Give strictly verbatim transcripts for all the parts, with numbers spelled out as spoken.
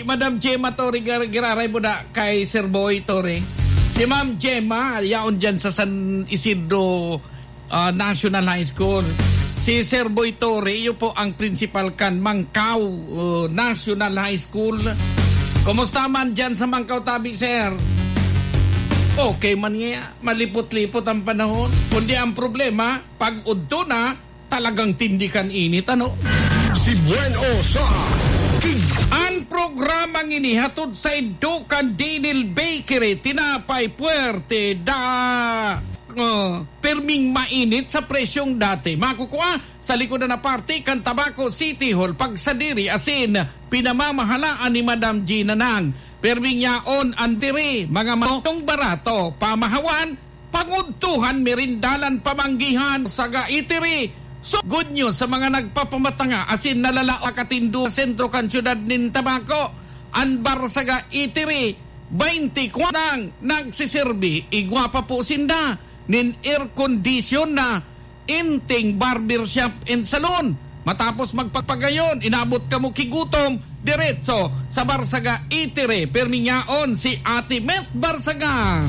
Madam Gemma Torre, gar-, giraray mo na kay Sir Boy Torre. Si Ma'am Gemma, yaon dyan sa San Isidro, ah, National High School. Si Sir Boy Torre, iyo po ang principal kan Mangkao, uh, National High School. Kumusta man dyan sa Mangkao, tabi, sir? Okay man nga, malipot-lipot ang panahon. Kundi ang problema, pag udto na, talagang tindi kan init, ano? Si Buen O sa Kig- Ang programang ini hatod saindo kan Dinil Bakery, tinapay puwerte, da-, oh, pirming mainit sa presyong dati. Makukua sa likodan na parte kan Tabaco City Hall, pagsadiri asin pinamamahalaan ni Madam Gina Nang. Pirming yaon an diri, mga maong barato, pamahawan, pangudtuhan, merindalan, pamanggihan, saga itiri. So, good news sa mga nagpapamatanga asin nalalao katindo sa sentro kan siyudad nin Tabaco. An Barsaga Itiri, twenty-four nang nagsiserbi, igwa pa po sinda nin air condition na inting barber shop and salon. Matapos magpagpagayon, inabot kamo kigutom, diretso sa Barsaga Itiri. Pirming yaon si Ate Met Barsaga.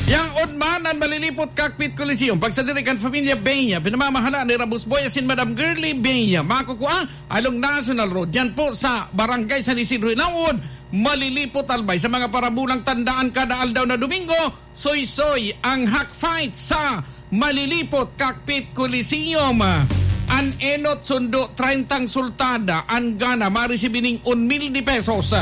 Yaon man an Malilipot Cockpit Coliseum. Pagsadiri kan Familia Benya, pinamamahala ni Rabus Boy asin Madam Girly Benya. Makukua along National Road. Yan po sa Barangay San Isidro Ilawod, Malilipot, Albay. Sa mga parabulang tandaan, kada aldaw na Domingo, soy-soy ang Hack Fight sa Malilipot Cockpit Coliseum. An enot sundo, trentang sultada, an gana, maresibi ning un mil de pesos.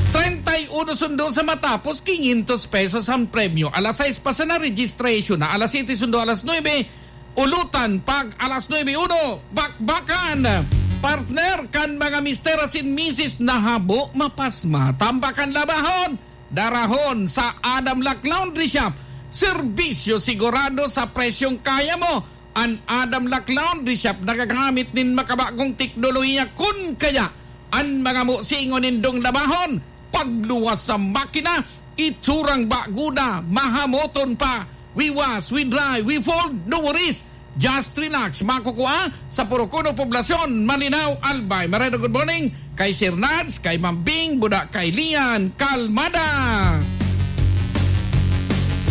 Treinta y uno sundo sa matapos, quinientos pesos ang premyo. Alas sais pa sana registration na, alas siyete sundo alas nuebe, ulutan pag alas nuebe uno, bakbakan. Partner kan mga mister asin misis na habo, mapasma, tambakan, labahon, darahon sa Adam Lac Laundry Shop. Serbisyo sigurado sa presyong kaya mo. An Adam Lac Laundry Shop nagagamit nin makabagong teknolohiya, kun kaya an mga musingon nindong labahon, pagluwas sa makina, itsurang bago na, mahamoton pa. We wash, we dry, we fold, no worries. Just relax. Makukua sa Purukuno, Poblacion, Malinao, Albay. Mareno, good morning kay Sir Nads, kay Ma'am Bing, buda kay Lian Kalmada.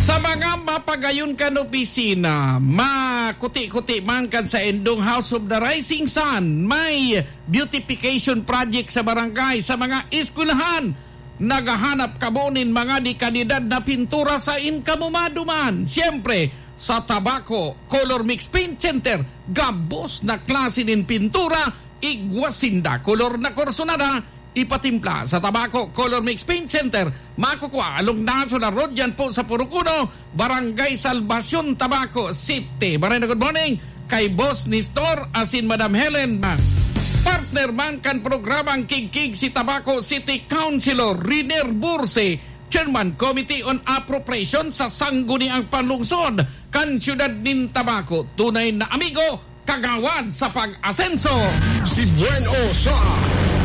Sa mga mapagayon kan opisina, makuti-kuti man kan saindong House of the Rising Sun, may beautification project sa barangay, sa mga eskwelahan. Naghahanap kamo nin mga de kalidad na pintura, saen kamo maduman? Siyempre, sa Tabaco Color Mix Paint Center, gabos na klase nin pintura, igwa sinda, kolor na kursunada, ipatimpla sa Tabaco Color Mix Paint Center. Makukua along National Road, yan po sa Purukuno, Barangay Salvacion, Tabaco City. Maray na good morning kay Boss Nestor asin Madam Helen. Partner man kan programang Kigkig si Tabaco City Councilor Riner Burse, Chairman Committee on Appropriation sa Sangguniang Panlungsod kan Siyudad nin Tabaco. Tunay na amigo, kagawad sa pag-asenso. Si Buen O sa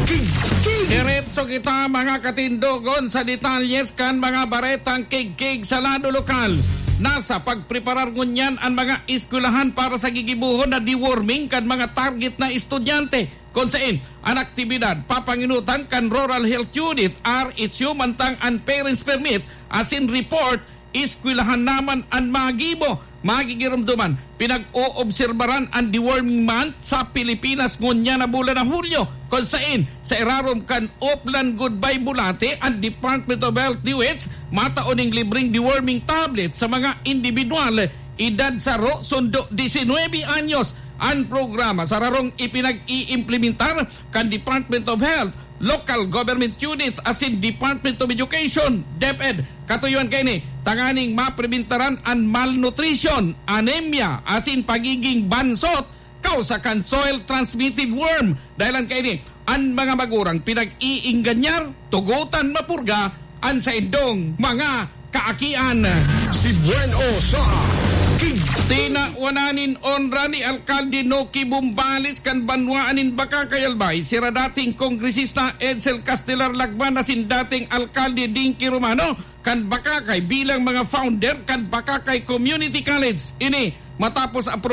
Kigkig. Diretso kita, mga katindogon, sa detalyes kan mga baretang kigkig sa lado lokal. Nasa pagpreparar ngunyan an mga eskwelahan para sa gigibohon na deworming kan mga target na estudyante. Kun saen, an aktibidad papanginutan kan Rural Health Unit, R H U, mantang an parents permit asin report eskwelahan naman an magibo. Magigiromdoman, pinag-oobserbaran an deworming month sa Pilipinas ngunyan na bulan na Hulyo, kun saen sa irarom kan Oplan Goodbye Bulate, an Department of Health, DOH, matao ning libreng deworming tablet sa mga indibidwal edad saro sundo diecinuebe anyos. An programa sararong ipinag-iimplementar kan Department of Health, local government units asin Department of Education, DepEd. Katuyoan kaini tanganing mapribentaran an malnutrition, anemia, asin pagiging bansot kausa kan soil transmitted worm. Dahelan kaini, an mga magurang pinag-iingganyar, tugotan mapurga an saindong mga kaakian. Si Buen O sa Kig- Tinawanan nin onra ni Alkalde Noki Bumbales kan banwaan nin Bacacay, Albay, sira dating Kongresista Edsel Castelar Lagman asin dating Alkalde Dinky Romano kan Bacacay bilang mga founder kan Bacacay Community College. Ini matapos ang